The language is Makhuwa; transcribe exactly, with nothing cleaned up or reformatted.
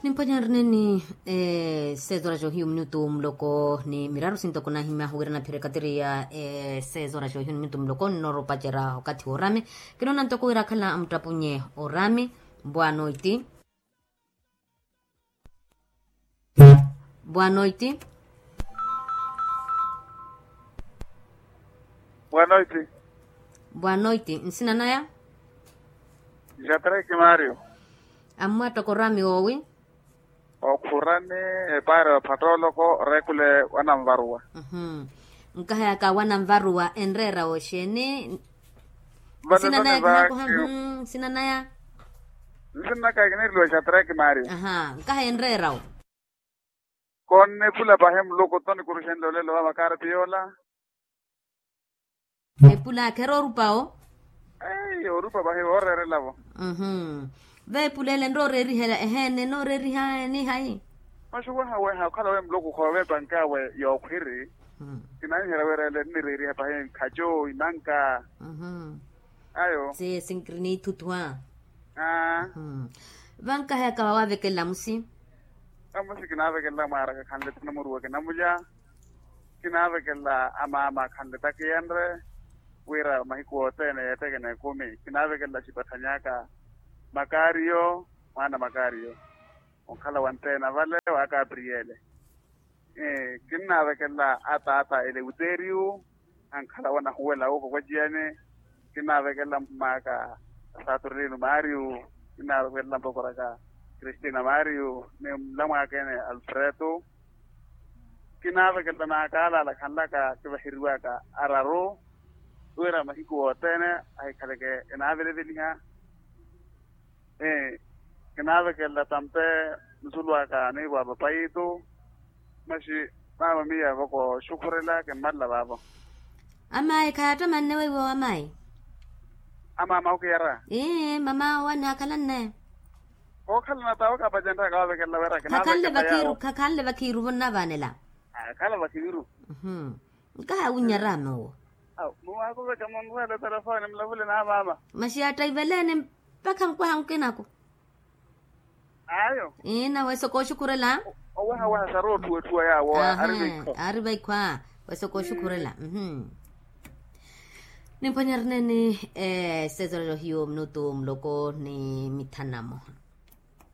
Nimphwanya nrineni. Sezoraxa ohiyu minutu muloko ni miraru sintoko nahimya huwira naphirekatiri ya sezoraxa ohiyu minutu muloko nnooropacerya okathi w'orami. Kinoona ntoko wira akhala amuttapunye orami. Bwanoiti. Bwanoiti. Bwanoiti. Bwanoiti nsina naya. Jatreki mario. Ammwattoko orami woowi. Okhurani epaari ophattooloko orekhule wananvaruwa. Nkahayaka wananvaruwa enreera oxeeni? Nsinanaya kinakoha. Nsinanaya. Nsinanaka kiniiriwa xatreki mario. Nkahaya enreera wo. Konnipula pahi muluku toni kuruxenle olelo wa makaarati yoola. Epula kheera orupa wo. Eyi orupa pahi wooreerela vo. Veepula ele nroorerihela eheene nooreeriha ni hayi? Maxuwaha weha okhala we muluku khoove epankawe yookhwiri. Kinanihela wira ele nnireeriha pahi nkhaco inanka. Ayo. Seye sinkiriniithuthwa. Vankahayaka wawavekelela musi. Amusi kinaavekelela mwaaraka khanle tinamuruwa kinamulya. Kinaavekelela amaama khanle takiyenre wira mahiku othene yeetheke n'ekumi kinaavekelela xipatthanyaka. Makaariyo mwaana makaariyo onkhala wanteena vale wa kapriyele. Kinnaavekelela ataata eleuteriyu ankhala wanahuwela wuuko kwaciyani. Kinnaavekelela mmaaka saturnino mario. Kinnaavekelela mpokoraka kristina mario ni mlamwaakene alfreto. Kinnaavekelela naakaalaala khanlaka kivaheriwaka araru wira mahiku othene ahikhaleke enaaveleveliha. Kinaavekelela tampe nsulwaka niivo a papayitu. Maxi maama miya voko oxukhurela kimmalela vaavo. Amayi khayaattamanne weiwo amayi. Amaama okiyara. Ii mama owo anaakhalanne. Kookhalana tawe kapacenrya kaavekelela wira kinaavekelela yawo. Khakhanle vakhiiru vo nnavaanela. Akhala vakhiiru. Nkaha awinnyara ame owo. Awo muwaakuveka munrweele telefoni mulavule na maama. Masi yaattaiveleene mpakha nkwaha nkinako. Ayo. Ina wesoko oxukhurela. Owehaweha sari otthuwatthuwa yaawo. Ari vaikho a wesoko oxukhurela. Nimphwanya rineeni. Sezerelo hiyo minutu muloko ni mithanamo.